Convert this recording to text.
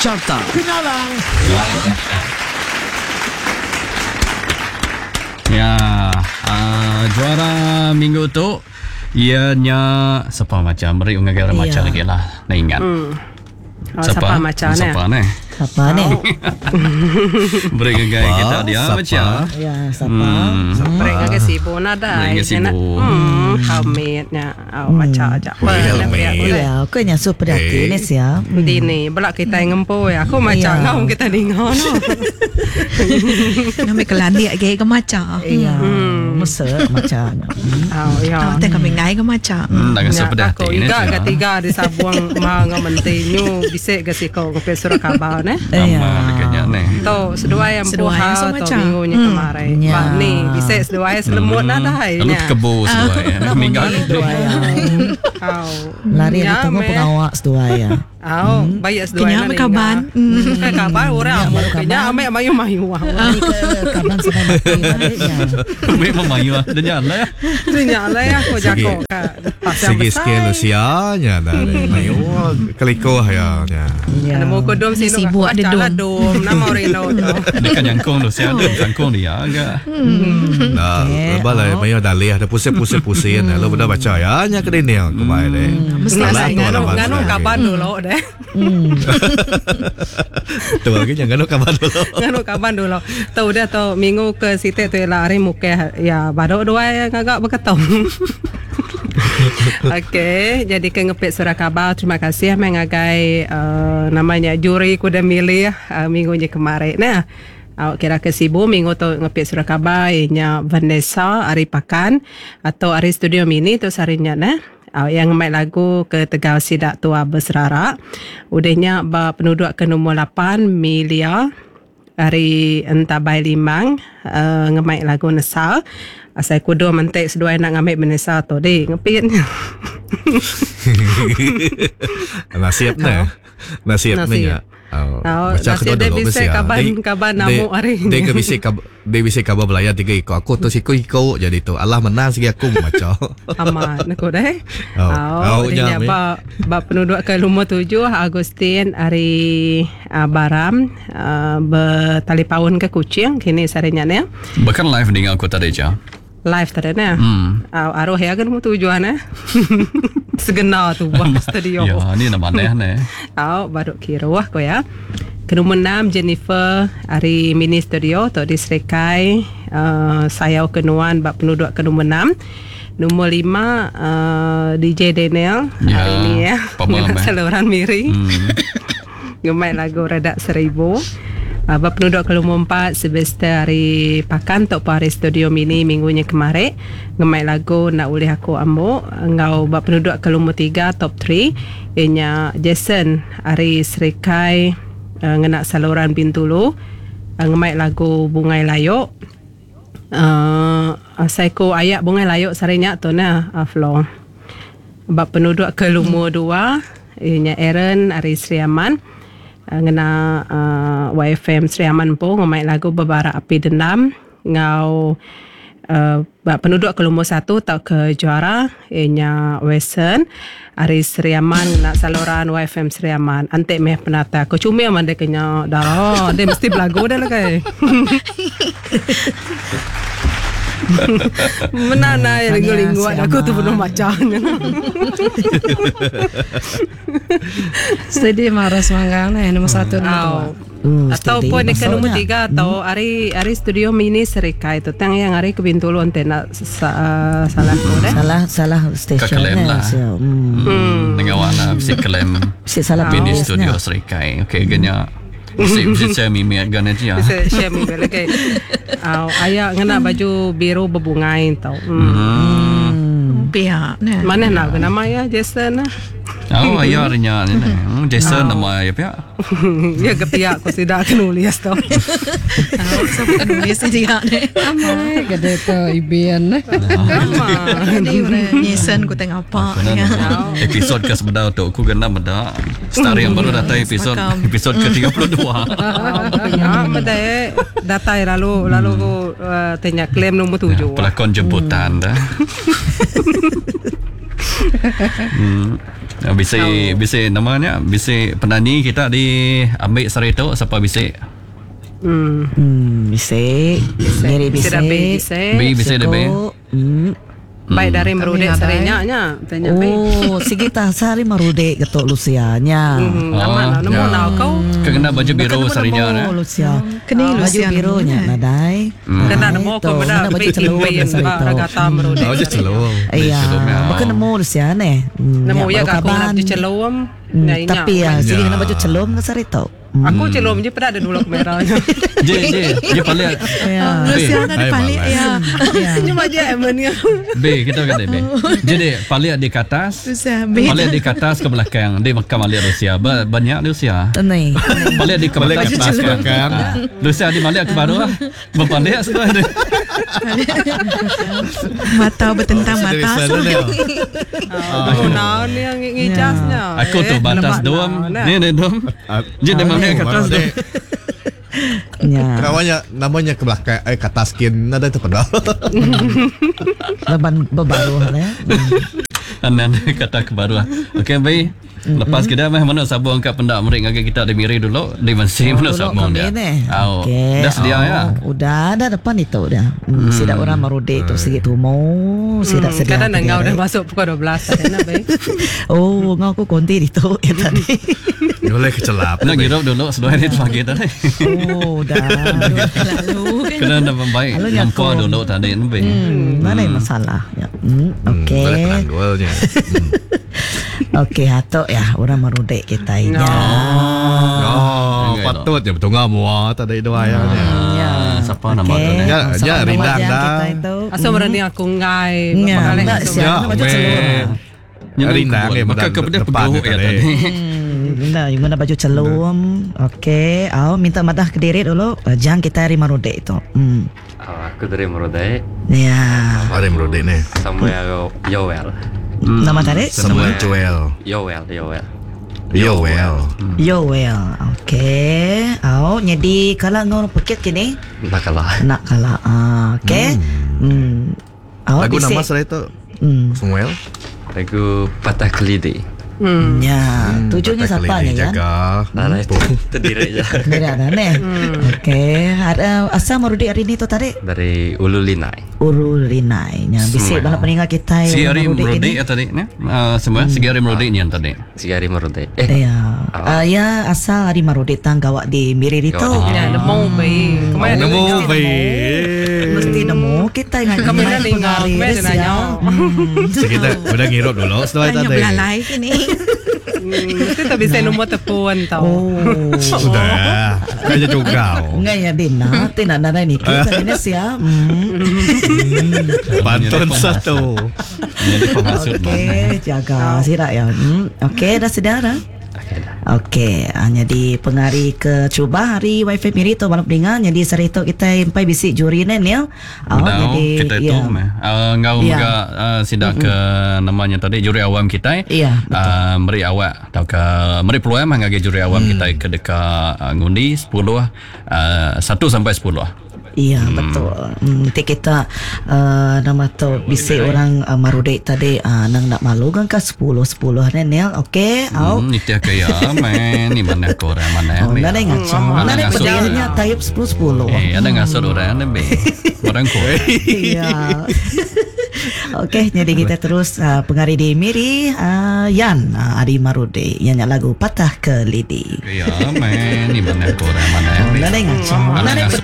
Carta Kenyalang. Ya, uh, juara minggu tu iya nya sapa macam beri ngagai orang maca Ya. lagi lah. Nak ingat. Oh, siapa maca ni? Siapa ni? Siapa ni? Beri ngagai kita dia Siapa? maca. Ya, siapa? Beri ngagai sibu nadai. Beri ngagai sibu. Hamitnya. Oh, maca aja. Beri helmet. Ya, aku yang super hati Eh. ni sia. Dini, belak kita ngempu ya. Aku maca Ya. ngau kita dengar no. Kami kelandik lagi ke maca. Ya, masa macam. Oh, ya. Ah, tengok kami ngai ke maca. Nak rasa pedih Aku hati ni. iga ke tiga di sabuang ma ngau menti nyu bisik ke siko ke surat khabar ne. Ya. Nama dekatnya ni. Tu seduai yang Seduai puha yang tu macam. minggu nya kemarin. Ya. Bah ni bisik seduai selemut nadai Lalu nya. kebu seduai. Minggal Seduai ya. Au. Lari Ya, di tunggu meh. pengawak seduai ya. Au, baik seduai Kenyang nak berkaban. ninga. Bukan kabar orang amu kenya amek mayu-mayu. Lari ke kaban sampai mati balik ya. Memang mayu ah. Dia nyala ya. Nya lah ya aku Segi- jako ka pasal Segi skill usianya dah. Mayu kelikoh ya. Ya. Ya. Ada mau kodom sini Sibuk ada lah dom nama Reno tu. Dia kan nyangkung tu siapa dia sangkung dia agak. Nah, lepas lah mayu dalih ada pusing-pusing-pusing lalu benda baca ya nya ke dini aku mai deh. Mesti Salah asal tu Nganu orang nganu bangsa. kabar dulu deh. Tu lagi jangan nganu kabar dulu. Nganu kabar dulu. Tu udah tu minggu ke situ tu lah hari muka ya baru dua yang agak berketom. Okey, jadi ke ngepit surah khabar. Terima kasih mengagai uh, namanya juri kuda milih uh, minggu ni kemarin. Nah, awak kira ke Sibu minggu tu ngepit surah khabar ianya Vanessa Ari Pakan atau Ari Studio Mini tu sarinya nah. Awak yang main lagu ke Tegal Sidak Tua Berserarak. Udahnya ba penduduk ke nombor 8 Milia hari Entabai Limang uh, ngemaik lagu Nesal. Asal kudu mentek seduai nak ngambil Vanessa tu di ngepit. Nasib ne. Nasib ne Nasib. ya. Oh, Oh, baca nasib aku dia dulu bisa mesti, ah. kaban- Dia- kaban dia- namuk hari Dia ni. ke bisa kab, dia bisa kabar belayar tiga ikut aku tu siku ikut jadi tu. Allah menang segi aku baca. Amat aku deh. Oh, Oh, oh, dia jam, eh. ba, ba penduduk ke lumur tujuh Agustin hari uh, Baram uh, bertalipaun ke Kuching kini sarinya ni. Bahkan live dengar aku tadi je. Live tadi ni. Hmm. Aruh ya ke lumur tujuh ni. Segena tu buat studio. Ya, ni nama aneh ni. Tau baru kira wah ko ya. Ke nombor 6 Jennifer hari mini studio tok di Serikai uh, sayau kenuan bab penduduk ke nombor 6. Nombor 5 uh, DJ Daniel Ya, hari ni ya. pamam, Dengan eh. saluran miri. Gemai lagu Redak Seribu. Uh, bab penduduk ke nombor 4 Sylvester hari Pakan Tok Hari Studio Mini minggunya kemarin. Gemai lagu Nak Ulih Aku Ambuk. Ngau bab penduduk ke nombor 3 top 3 ianya Jason hari Serikai uh, ngenak saluran Bintulu. Uh, ngemai lagu Bungai Layok. Uh, Saiko ayak Bungai Layok sarinya tu nah uh, Flo. Bab penduduk ke lumur dua ianya Aaron Ari Sri Aman ngena uh, YFM Sri Aman pun ngemain lagu Bebarak Api Dendam ngau uh, bab penduduk ke lumur satu tak ke juara ianya Western Ari Sri Aman ngena saluran YFM Sri Aman antik meh penata aku cumil man dia kena darah dia mesti belagu dah lah kai Menanai Tahniah, linggu-linggu Sri aku tu Aman. penuh macam. Steady marah semanggang ni nombor satu nombor dua. Au. Ataupun steady dekat nombor masuknya. tiga atau hari hari studio mini Serikai tu tang yang hari ke Bintulu ante nak sa, uh, salah tu deh. Salah salah stesen Kekelem ni. lah. Sia. Hmm. Hmm. Dengan warna mesti klaim Mesti salah Mini tulis studio nya. Serikai. Okey, ganya. Mesti mesti saya mimi gana je. Bisa share mi balik ke. Au ayak ngena baju biru berbungai tau. Hmm. Pihak ni. Mana nak ke nama ya Jason lah. Oh, ayah rinya ni. Jason nama ya pihak. Ya ke pihak aku tidak akan nulis tau. Tahu siapa nulis dia ni. Amai gede ke ibian ni. Jadi orang nyesen ku tengok apa ya. Episod ke sebenar tu aku kena benda. Star yang baru datang episod Semakam. episod ke-32. Ya, bedai datai lalu lalu aku uh, tanya klaim nombor tujuh. Pelakon jemputan dah. Bisi bisi nama nya bisi penanyi kita di ambil sehari tu siapa bisi? Bisi. Miri Bisi bisi. dah bi bisi. Bi bisi dah bi. Baik dari merudek sehari nya nya. Tanya bi. Oh, sigi tah sehari merudek ketuk Lucia nya. Amat lah nemu Ya. lah kau. Kena baju biru Bukan sehari nya. nemu eh. Lucia. Kena Baju Lucia biru nemu, nya eh. nadai. Kena nemu Tu, aku benda kena baju bi celum impin sehari ba tu. ragata merudek. Oh, je celung. Iya, Celum, ya. bukan nemu Lucia ne. Nemu ya baru aku kena kaban. baju celum. Tapi ya, sigi Ya. kena baju celum ke sehari tu. Aku celum je pada ada dulu merahnya. Je je je paling Ya. Lucia ada Hai, balik malai. ya. Senyum aja emangnya. B kita kata B. Jadi paling di ke atas. Lucia B. Paling di ke atas ke belakang. Di makam alik Rusia. Banyak Rusia. Ni. Balik di ke Balik ke belakang atas, ke belakang. Ah. Lucia di balik ke baru lah. Berbalik sudah dia. Mata bertentang Oh, mata. serius lah dia. Aku naon yang ngijasnya. Aku tu batas dom. Ni ni dom. Jadi dia balik ke atas dom. Ya. Namanya namanya ke belakang eh ke atas skin ada tu pedal. Leban berbaru ya. Anan kata ke baru lah. Okey B. Lepas kita meh mana sabung kat pendak merik ngagai kita di miri dulu di Mesir mana Dulu sabung kami dia. ni. Au. Okey. Dah sedia Oh, ya. Udah dah depan itu dah. Sidak orang merudek tu sikit tumo, sidak sedia. Kadang kediri. ngau dah masuk pukul 12 tadi nak be. Oh, ngau aku konti itu ya tadi. Boleh kecelap. Nak ngirup dulu seduai ni pagi tadi. Oh, dah. Lalu kan. Kena nak baik Lalu nampak nyakung. dulu tadi ni B. Mana yang masalah? Ya. Okey. Boleh penanggulnya. Okey, atok ya orang merudek kita ini. No. Oh, patut je betul mua tadi dua ya. Ya. Siapa nama tu ni? Ya, ya, rindang dah. Kita itu. Asal berani aku ngai. Ya, Balik tak asal. siap. Ya, Baju celum. Rindang ni Maka kepada depan peguh dia ya tadi. tadi. Nah, guna baju celum. Okey, au minta madah ke diri dulu. Jangan kita hari merudek itu. Oh, aku dari Merodai, Ya. Mari merudek ni. Samuel Yoel. Nama tadi? Samuel Joel. Yoel, Yoel. Yoel. Yoel. Okey. Au jadi kalau ngau pekit kini Nakalah. nak kalah. Ah, okey. Au Lagu bisik. nama saya itu Samuel. Lagu Patah Kelidi. Ya, tujuannya Patah siapa kelidi nya kan? Jaga. Nah, nah, itu terdiri je. Tidak ada nih. Okey, ada asal merudik hari ni tu tadi Dari Ulu Linai. Uru Rinai. Nya bisik Semua. bala peninggal kita Si yang hari merudik merudik ini. ya tadi ni. Semua si hari merudik ni yang tadi. Si hari Merodai. Eh, Ya, ah, ya asal hari merudik tang gawak di Miri itu. Gawak Ya, nemu be. Kemarin Nemu be. Mesti nemu kita ingat Kami dah linggar, kami dah nanya. So, kita udah ngirup dulu setelah Tanya tadi. belalai kini. Mesti tak bisa nombor telefon tau. Oh. Sudah. Kayaknya juga. Enggak ya Dina, Tina nada ni kita ini siap. Pantun satu. Jadi penghasut mana. Okey, jaga sirak ya. Okey, dah sedar dah. okey dah. Okey, hanya di pengari ke cuba hari wifi miri tu malam pendengar jadi sehari tu kita empai bisik juri ni ya. Oh, Bedau kita itu ya. meh. Ngau Ya. mega sidak ke namanya tadi juri awam kita. Ya, betul. Meri awak atau ke meri peluang mah ngagi juri awam kita ke dekat ngundi 10 1 sampai 10. Iya betul. Nanti kita nama tu bisik orang marudek tadi nang nak malu kan ke 10 10 ni Nel. Okey, au. Itu ke ya men ni mana ko orang mana Oh, ni. nada ngacau. Ada Nada ngasut pedihnya orang. type 10 10. Eh, ada ngasut orang ni be. Orang ko. Iya. Okey, jadi kita terus pengari di Miri Yan Ari Marude yang nyak lagu Patah ke Lidi. Ya men ni mana ko orang mana Oh, ni. nada ngacau. Ada Nada ngasut.